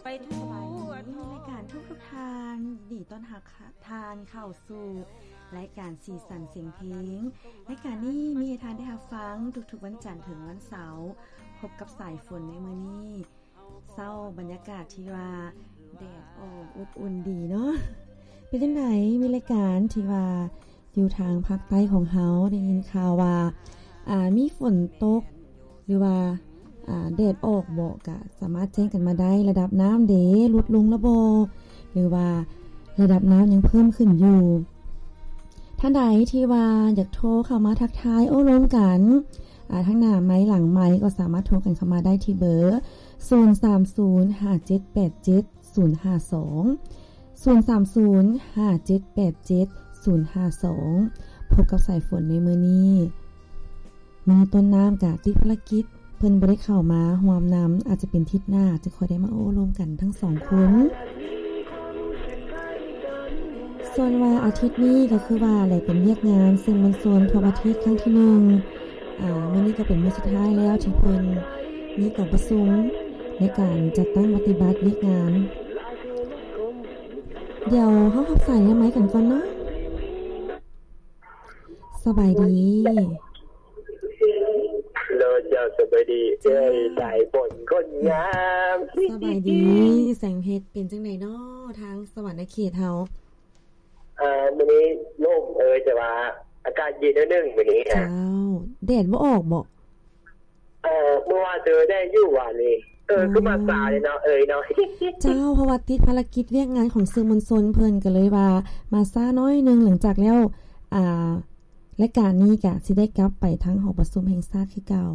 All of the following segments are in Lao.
ໄປທົ່ວ ສະບາຍດີ ລາຍການທຸກໆທ່ານ ຍິນດີຕ້ອນຮັບ ທ່ານເຂົ້າສູ່ລາຍການສີສັນສຽງເພງ. ລາຍການນີ້ມີໃຫ້ທ່ານໄດ້ຮັບຟັງທຸກໆວັນຈັນເຖິງວັນເສົາ. ພົບກັບສາຍຝົນໃນມື້ນີ້ ເຊົ້າບັນຍາກາດທີ່ວ່າແດດອອກ ອົບອຸ່ນດີເນາະ. ເປັນຈັ່ງໃດ? ມີລາຍການທີ່ວ່າຢູ່ທາງພາກໃຕ້ຂອງເຮົາ ໄດ້ຍິນຂ່າວວ່າ ອ່າ ມີຝົນຕົກ ຫຼືວ່າ ອ່າ ແດດອອກເບາະ ກະສາມາດແຈ້ງກັນມາໄດ້. ລະດັບນ້ຳເດ ຫຼຸດລົງລະບໍ່ ຫຼືວ່າລະດັບນ້ຳຍັງເພີ່ມຂຶ້ນຢູ່? ທ່ານໃດທີ່ວ່າຢາກໂທເຂົ້າມາທັກທາຍໂອ້ລົມກັນ ອ່າ ທັງໜ້າໄມ ຫຼັງໄມ ກໍສາມາດໂທກັນເຂົ້າມາໄດ້ທີ່ເບີ ສູນສາມສູນ ຫ້າເຈັດແປດເຈັດ ສູນຫ້າສອງ ສູນສາມສູນ ຫ້າເຈັດແປດເຈັດ ສູນຫ້າສອງ. ພົບກັບສາຍຝົນໃນມື້ນີ້ ມື້ນີ້ຕົ້ນນ້ຳກະຕິດພາລະກິດ ເພິ່ນບໍ່ໄດ້ເຂົ້າມາຮ່ວມນຳ ອາດຈະເປັນທິດໜ້າ ຈະຄ່ອຍໄດ້ມາໂອ້ລົມກັນທັງສອງຄົນ. ສ່ວນວ່າອາທິດນີ້ກໍຄືວ່າໄດ້ເປັນວຽກງານສື່ມວນຊົນທົ່ວປະເທດຄັ້ງທີໜຶ່ງ ອ່າ ມື້ນີ້ກໍເປັນມື້ສຸດທ້າຍແລ້ວທີ່ເພິ່ນມີກອງປະຊຸມໃນການຈັດຕັ້ງປະຕິບັດວຽກງານ. ດຽວເຮົາຮັບສາຍນາໄມກັນກ່ອນເນາະ. ສະບາຍດີ. ໂດຍ ເຈົ້າ ສະບາຍດີ ເອີຍ ສາຍຝົນຄົນງາມ. ສະບາຍດີແສງເພັດ ເປັນຈັ່ງໃດເນາະທາງສະຫວັນນະເຂດເຮົາ? ເອີ ມື້ນີ້ລົມເອີຍ ແຕ່ວ່າອາກາດເຢັນໜ້ອຍໜຶ່ງມື້ນີ້. ເຈົ້າ ແດດບໍ່ອອກບໍ່? ເອີ ເມື່ອວານເຈີແດດຢູ່ວານນີ້. ເອີ ຄືມາຊ້າເດເນາະເອີຍເນາະ. ເຈົ້າ ເພາະວ່າຕິດພາລະກິດວຽກງານຂອງສື່ມວນຊົນ ເພິ່ນກໍເລີຍວ່າມາຊ້າໜ້ອຍໜຶ່ງ. ຫຼັງຈາກແລ້ວ ອ່າ ລາຍການນີ້ກະຊິໄດ້ກັບໄປທາງຫໍປະຊຸມແຫ່ງຊາດຄືເກົ່າ.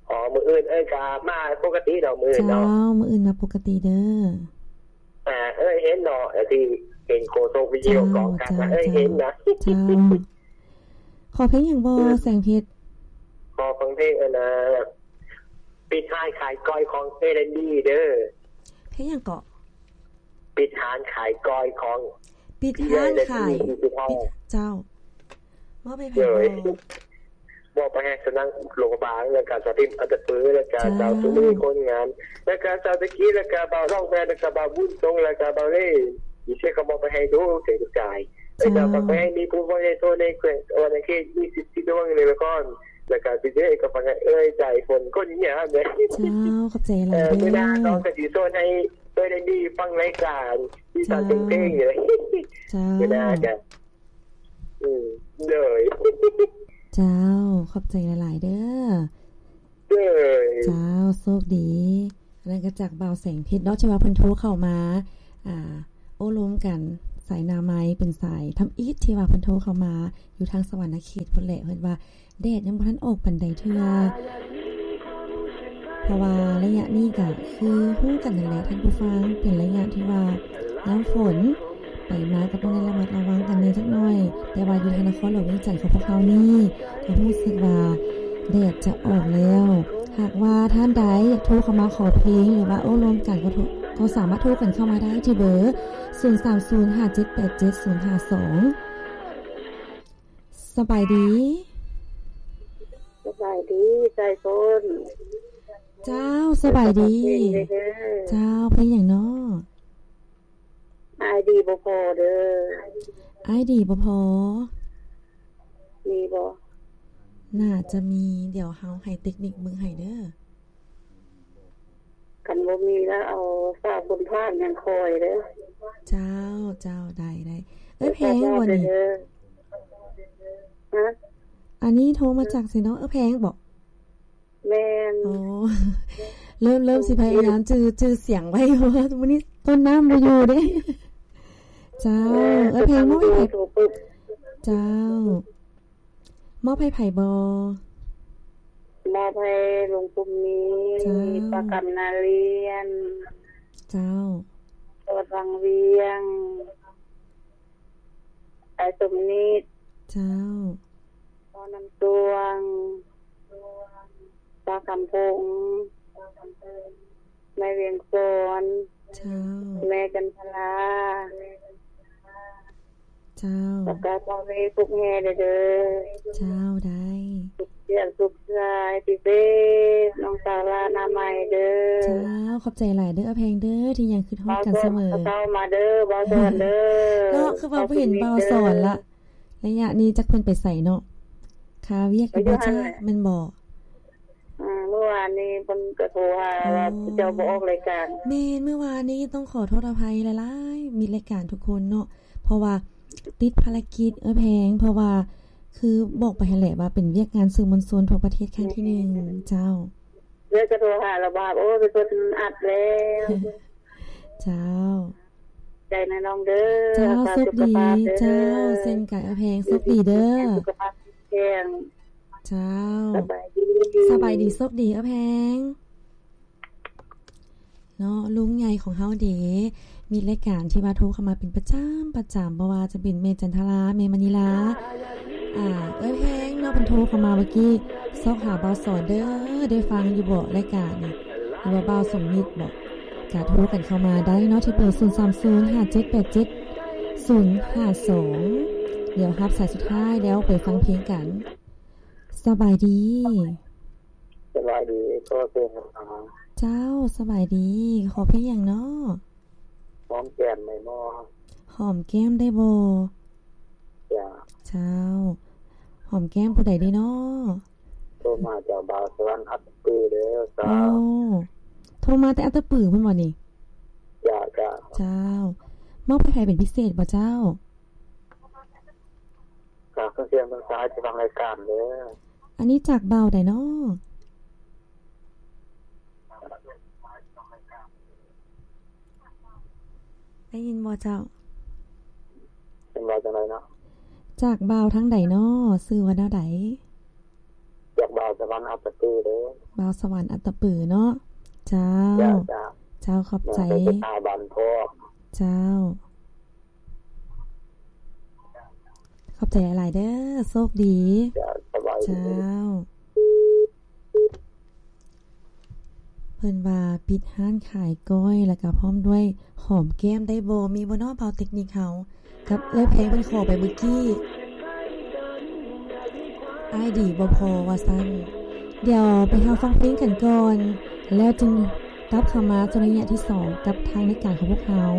ອໍ ມື້ອື່ນເອີຍກະມາປົກກະຕິເນາະ ມື້ອື່ນເນາະ. ເຈົ້າ ມື້ອື່ນມາປົກກະຕິເດີ. ອ່າ ເອີຍເຫັນເນາະ ທີ່ເຫັນໂຄສົກວິທະຍຸກອງກັນນະ ເອີຍເຫັນນະ. ເຈົ້າ ຂໍເພງຫຍັງບໍ່ ແສງເພັດ? ຂໍຟັງເພງອັນນ່າ ປິດຮ້ານຂາຍກ້ອຍຂອງເອແລນດີເດີ. ເພງຫຍັງເກາະ? ປິດຮ້ານຂາຍກ້ອຍຂອງ ປິດຮ້ານຂາຍ ເຈົ້າ ມອບໃຫ້ໃຜບໍ່? ມອບໄປໃຫ້ສະນັງຫຼວງພະບາງ ແລ້ວກະສາວທິມອັນຕະປື ແລ້ວກະສາວສຸນີຄົນງາມ ແລ້ວກະສາວຕະກີ້ ແລ້ວກະບ່າວດອກແມນ ແລ້ວກະບ່າວບຸນຊົງ ແລ້ວກະບ່າວເລ່ ອີເຊກະມອບໄປໃຫ້ທຸກເສຍທຸກກາຍ. ເຈົ້າ ແລ້ວກະໄປໃຫ້ມີຜູ້ຟັງໃນທົ່ວໃນແຂວງ ເອີ ໃນເຂດມີສິບສີ່ດວງໃນນະຄອນ ແລ້ວກະຊິເດີກະຟັງໃຫ້ເອື້ອຍໃຈຝົນຄົນງາມເດີ. ເຈົ້າ ຂອບໃຈຫຼາຍເດີ. ມື້ໜ້ານ້ອງກະຊິຊວນໃຫ້ເອື້ອຍໄດ້ດີຟັງລາຍການທີ່ສາວເພງເລີຍ. ເຈົ້າ ມື້ໜ້າກະ ອືມ ໂດຍ ເຈົ້າ ຂອບໃຈຫຼາຍໆເດີ. ເຈົ້າ ໂຊກດີ. ອັນນັ້ນກໍຈາກບ່າວແສງເພັດເນາະ ທີ່ວ່າເພິ່ນໂທເຂົ້າມາ ອ່າ ໂອ້ລົມກັນ ສາຍໜ້າໄມ ເປັນສາຍທຳອິດທີ່ວ່າເພິ່ນໂທເຂົ້າມາ ຢູ່ທາງສະຫວັນນະເຂດພຸ້ນແຫຼະ. ເພິ່ນວ່າແດດຍັງບໍ່ທັນອອກປານໃດເທື່ອ ເພາະວ່າໄລຍະນີ້ກະຄືຮູ້ກັນຫັ້ນແຫຼະທ່ານຜູ້ຟັງ ເປັນໄລຍະທີ່ວ່າຍາມຝົນ ໄປມາກໍຕ້ອງໄດ້ລະມັດລະວັງກັນແດ່ຈັກໜ້ອຍ. ແຕ່ວ່າຢູ່ທາງນະຄອນຫຼວງວຽງຈັນຂອງພວກເຮົານີ້ ກໍຮູ້ສຶກວ່າແດດຈະອອກແລ້ວ. ຫາກວ່າທ່ານໃດຢາກໂທເຂົ້າມາຂໍເພງ ຫຼືວ່າໂອ້ລົມກັນ ກໍໂທ ກໍສາມາດໂທກັນເຂົ້າມາໄດ້ທີ່ເບີ ສູນສາມສູນ ຫ້າເຈັດແປດເຈັດ ສູນຫ້າສອງ. ສະບາຍດີ. ສະບາຍດີ ສາຍຝົນ. ເຈົ້າ ສະບາຍດີ. ເຈົ້າ ເພງຫຍັງເນາະ? ອ້າຍດີບໍ່ພໍເດີ. ອ້າຍດີບໍ່ພໍ ມີບໍ່? ໜ້າຈະມີ ດຽວເຮົາໃຫ້ເຕັກນິກເບິ່ງໃຫ້ເດີ. ຄັນບໍ່ມີລະເອົາສາວຄຸນພາກຍັງຄອຍເດີ. ເຈົ້າ ເຈົ້າ ໄດ້ ໄດ້. ເອື້ອຍແພງບໍ່ນີ້? ຮະ? ອັນນີ້ໂທມາຈາກໃສເນາະ? ເອື້ອຍແພງບໍ່? ແມ່ນ. ອໍ ເລີ່ມ ເລີ່ມຊິພະຍາຍາມຈື່ ຈື່ສຽງໄວ້ ເພາະວ່າມື້ນີ້ຕົ້ນນ້ຳບໍ່ຢູ່ເດ້. ເຈົ້າ ເອື້ອຍແພງ ມອບໃຫ້ໃຜ? ເຈົ້າ ມອບໃຫ້ໃຜບໍ່? ມອບໃຫ້ລຸງປຸມມີ. ເຈົ້າ ປ້າກຳນາລຽນ. ເຈົ້າ ສອດວັງວຽງ. ອ້າຍສົມນິດ. ເຈົ້າ ພໍ່ນ້ຳຕວງ. ປ້າຄຳພົງ. ແມ່ວຽງສອນ. ເຈົ້າ ແມ່ຈັນທະລາ. ເຈົ້າ ແລ້ວກໍພໍ່ແມ່ປຸກແຫ່ເດີ. ເຈົ້າ ໄດ້. ຽງສຸກສາຍພິເສດ ນ້ອງສາວລານາໃໝ່ເດີ. ເຈົ້າ ຂອບໃຈຫຼາຍເດີ ອາແພງເດີ ທີ່ຍັງຄິດຮອດກັນສະເໝີ. ເຈົ້າ ມາເດີ ບ່າວສອນເດີ. ເນາະ ຄືວ່າບໍ່ເຫັນບ່າວສອນລະ ໄລຍະນີ້ຈັກເພິ່ນໄປໃສເນາະ ຄາວຽກຢູ່ບໍ່ຈ້າ ແມ່ນບໍ່? ອືມ ເມື່ອວານນີ້ເພິ່ນກໍໂທຫາວ່າເຈົ້າບໍ່ອອກລາຍການ. ແມ່ນ ເມື່ອວານນີ້ຕ້ອງຂໍໂທດອະໄພຫຼາຍໆ ມິດລາຍການທຸກຄົນເນາະ ເພາະວ່າຕິດພາລະກິດ ເອື້ອຍແພງ ເພາະວ່າຄືບອກໄປຫັ້ນແຫຼະວ່າເປັນວຽກງານສື່ມວນຊົນທົ່ວປະເທດຄັ້ງທີໜຶ່ງ. ເຈົ້າ ເອື້ອຍກໍໂທຫາລະບາບ ໂອ້ຍ ເພິ່ນອັດແລ້ວ. ເຈົ້າ ໃຈນະນ້ອງເດີ. ເຈົ້າ ໂຊກດີ ເຈົ້າ ເຊັ່ນກັນ ເອື້ອຍແພງ ໂຊກດີເດີ ສຸຂະພາບແຂງ. ເຈົ້າ ສະບາຍດີ ສະບາຍດີ ໂຊກດີ ເອື້ອຍແພງເນາະ. ລຸງໃຫຍ່ຂອງເຮົາເດ ມີລາຍການທີ່ວ່າໂທເຂົ້າມາເປັນປະຈຳ ປະຈຳ ບໍ່ວ່າຈະເປັນແມ່ຈັນທະລາ ແມ່ມະນີລາ ອາ ເອື້ອຍແພງເນາະ ເພິ່ນໂທເຂົ້າມາເມື່ອກີ້ ຊອກຫາບ່າວສອນເດີ ໄດ້ຟັງຢູ່ບໍ່ລາຍການນີ້ ຫຼືວ່າບ່າວສົມມິດບໍ? ກະໂທກັນເຂົ້າມາໄດ້ເນາະ ທີ່ເບີ ສູນສາມສູນ ຫ້າເຈັດແປດເຈັດ ສູນຫ້າສອງ. ດຽວຮັບສາຍສຸດທ້າຍແລ້ວໄປຟັງເພງກັນ. ສະບາຍດີ. ສະບາຍດີ ຂໍເຊີນ. ເຈົ້າ ສະບາຍດີ ຂໍເພງຫຍັງເນາະ? ຫອມແກ້ມໄດ້ບໍ່? ຫອມແກ້ມໄດ້ບໍ່? ເຈົ້າ ເຈົ້າ ຫອມແກ້ມຜູ້ໃດດີເນາະ? ໂທມາຈາກບ່າວສະຫວັນ ອັດຕະປືເດີ. ເຈົ້າ ໂອ້ ໂທມາແຕ່ອັດຕະປືພຸ້ນບໍ່ນີ້? ເຈົ້າ ເຈົ້າ ເຈົ້າ ມອບໃຫ້ໃຜເປັນພິເສດບໍ່ເຈົ້າ? ຝາກເຄື່ອງສຽງເຄື່ອງສາຍທີ່ຟັງລາຍການເດີ. ອັນນີ້ຈາກບ່າວໃດເນາະ? ໄດ້ຍິນບໍ່ເຈົ້າ? ເປັນວ່າຈັ່ງໃດເນາະ? ຈາກບ່າວທາງໃດເນາະ? ຊື່ວ່າແນວໃດ? ຈາກບ່າວສະຫວັນ ອັດຕະປືເດີ. ບ່າວສະຫວັນ ອັດຕະປືເນາະ. ເຈົ້າ ເຈົ້າ ເຈົ້າ ຂອບໃຈ. ເຈົ້າ ຂອບໃຈຫຼາຍໆເດີ ໂຊກດີ. ເຈົ້າ ສະບາຍດີ. ເຈົ້າ ເພິ່ນວ່າປິດຮ້ານຂາຍກ້ອຍ ແລ້ວກະພ້ອມດ້ວຍຫອມແກ້ມໄດ້ບໍ່? ມີບໍ່ເນາະ ບ່າວເຕັກນິກເຮົາ ກັບເອື້ອຍແພງເພິ່ນຂໍໄປເມື່ອກີ້? ອ້າຍດີບໍ່ພໍວ່າຊັ້ນ. ດຽວໄປເຮົາຟັງເພງກັນກ່ອນ ແລ້ວຈຶ່ງກັບເຂົ້າມາສູ່ໄລຍະທີສອງ ກັບທາງລາຍການຂອງພວກເຮົາ.